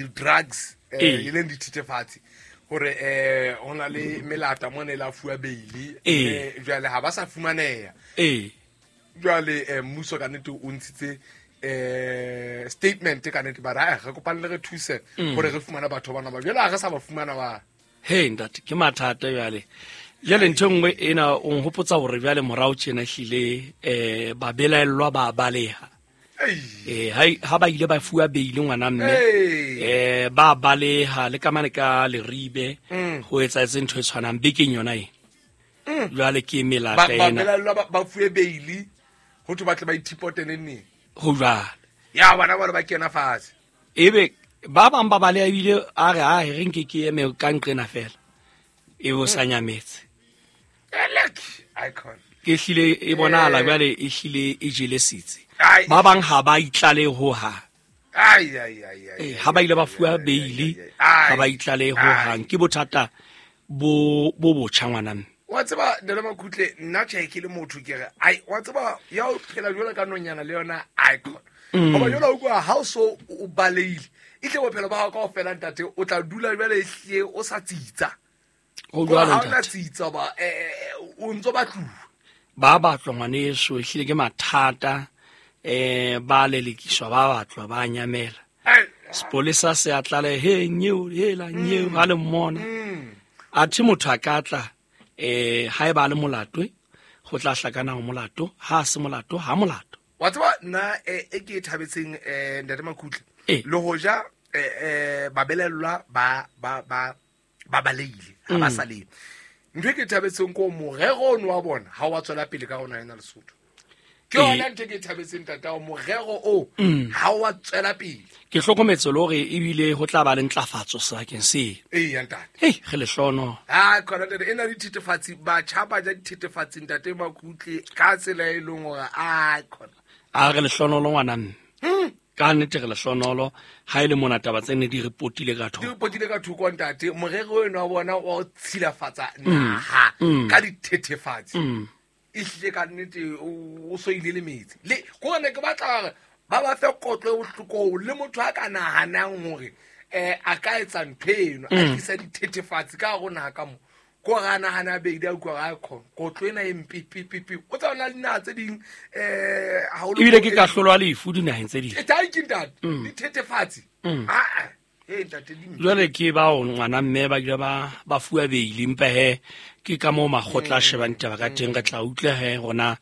Di-drugs e leng dithethefatsi, gore go na le melata mo ne la fuwa beile, jale ga ba sa fumaneya. Jwale mmuso ka nnete o ntshitse statement ka nnete, ba re re kopane le re thuse gore re fumana batho bana ba, jwale ha re sa ba fumana ba. He ntate, ke mathata jwale. Jwale ntho e nngwe ena o nhopotsa hore jwale morao tjena ehlile babelaellwa ba baleha. Ha ba ile ba fuwa beile ngwana mme, ba baleha le ka mane ka Leribe ho etsa ntho e tshwanang bekeng yona e. Jwale ke melata ena. Babelaellwa ba fuwe beile ho thwe ba tle ba ithipote neng. Ho jwalo. Ya bana ba kena fatshe. Ebe ba bang ba baleha ebile a re a re nke ke eme ka nqena fela. E bo sa nyametse. Icon. Ke hlile e bonahala jwale e hlile e jele sitse. Ba bang ha ba itlale ho ha. Ha ba ile ba fuwa beile, ha ba itlale ho hang. Ke bothata bo botjha ngwana mme. Wa tseba Ntate Makutle, nna tjhe ke le motho ke re ai wa tseba ya o phela jwalo ka nonyana le yona icon. Hoba jwalo o kwa ha o so o baleile, e tle bophelo ba hao kaofela ntate o tla dula jwale e hle o sa tsitsa. Ho jwalo ntate. Ha o na tsitsa ba o ntso batluwa. Ba batlwa ngwaneso, ehlile ke mathata, ba lelekiswa, ba batlwa, ba nyamela. Sepolesa se a tlale he nyeo hela nyeo ha le mmona. Athe motho a ka tla ha e ba le molato, ho tla hlakana ho molato, ha se molato ha molato. Wa tseba nna e ke thabetseng Ntate Makutle, le hoja babelellwa ba ba ba ba baleile ha ba sa le. Ntho e ke thabetseng ko morero ono wa bona ha wa tswela pele ka rona ena Lesotho. Ke yona ntho e ke thabetseng tata, morero o ha wa tswela pele. Ke hlokometse le hore ebile ho tla ba le ntlafatso sebakeng se. Ee ntate. Hei, re lehlono. Ha khona ntate, ena dithethefatsi, batjha ba ja dithethefatsi ntate Makutle ka tsela e leng hore a khona. A re lehlonolo ngwana mme. Ka nnete re lehlonolo ha ile mona taba tse ne di repotile ka thoko. Di repotile ka thoko ntate, morero eno wa bona wa o tshilafatsa naha ka dithethefatsi. E hlile ka nnete o so ile le metsi. Le go ne ke batla hore ba ba fe kotlo e bohloko le motho a ka nahanang hore a ka etsa ntho eno, a tlisa dithethefatsi ka hare ho naha ka mo. Ko ra nahana beile a utlwa ra khona kotlo ena e mpe pe pe pe. O tsana le dinaha tse ding ha o ebile ke kahlolo ya lefu dinaheng tse ding. E thank you ntate. Dithethefatsi. Ah eh ntate di. Jwale ke ba o ngwana mme ba ile ba fuwa beile mpe he ke ka mo makgotla a shebang taba ka teng, re tla utlwa he rona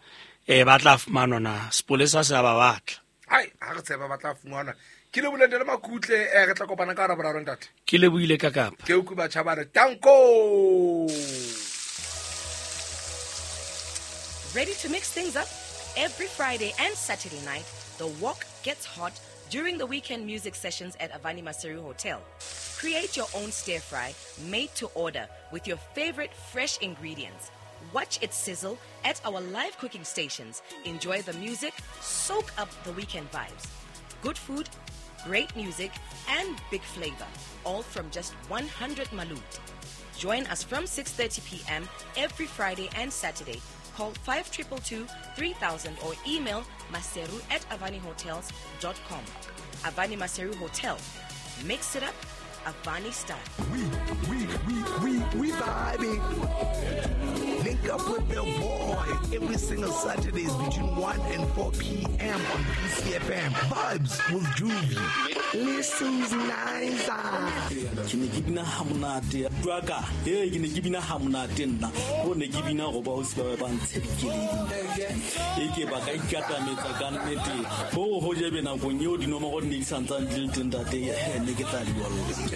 ba tla fumanwa na sepolesa se ba batla. Hai ha re tseba ba tla fumanwa. Ke le boleng le Makutle, re tla kopana ka Raboraro ntate. Ke le buile ka kapa. Ke utlwe batjha ba re tanko. Ready to mix things up? Every Friday and Saturday night, the walk gets hot during the weekend music sessions at Avani Maseru Hotel. Create your own stir fry made to order with your favorite fresh ingredients. Watch it sizzle at our live cooking stations. Enjoy the music, soak up the weekend vibes. Good food, great music, and big flavor, all from just 100 malut. Join us from 6:30 p.m. every Friday and Saturday. Call 5222-3000 or email maseru@avanihotels.com. Avani Maseru Hotel. Mix it up, Avani style. We vibing. Link up with the boy every single Saturdays between 1 and 4 p.m. on PCFM. Vibes with Juvie. Listens nice. Ke ne ke bina ha monate. Jwaka, ke ne ke bina ha monate nna. Ho ne ke bina go ba o se ba ntshekeledi. E ke ba ka ikatametsa ka nnete. Ho ho jebe nakong eo dinomoro di ne di santsane di le teng ntate, ne ke tla di bolla.